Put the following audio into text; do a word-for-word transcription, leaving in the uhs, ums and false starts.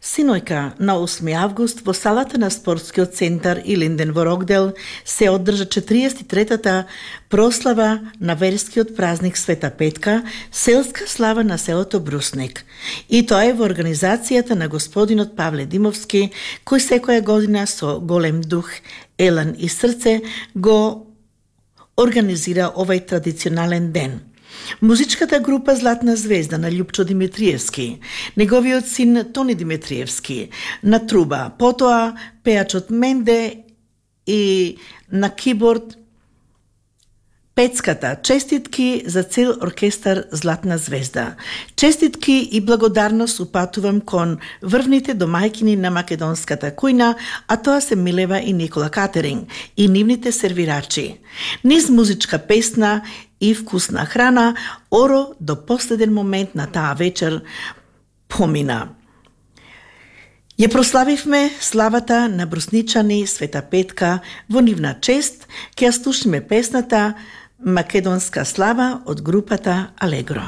Синојка на осми август во салата на спортскиот центар Илинден во Рокдел се одржа четириесет и третата прослава на верскиот празник Света Петка, селска слава на селото Брусник. И тоа е во организацијата на господинот Павле Димовски, кој секоја година со голем дух, елан и срце го организира овај традиционален ден. Музичката група Златна звезда на Љупчо Димитриевски, неговиот син Тони Димитриевски, на труба, потоа пеачот Менде и на киборд Пецката. Честитки за цел оркестар Златна звезда. Честитки и благодарност упатувам кон врвните домајкини на македонската кујна, а тоа се Милева и Никола Катеринг и нивните сервирачи. Низ музичка песна и вкусна храна, Оро до последен момент на таа вечер помина. Ја прославивме славата на брусничани Света Петка во нивна чест, ќе ја слушнеме песната Македонска слава од групата Алегро.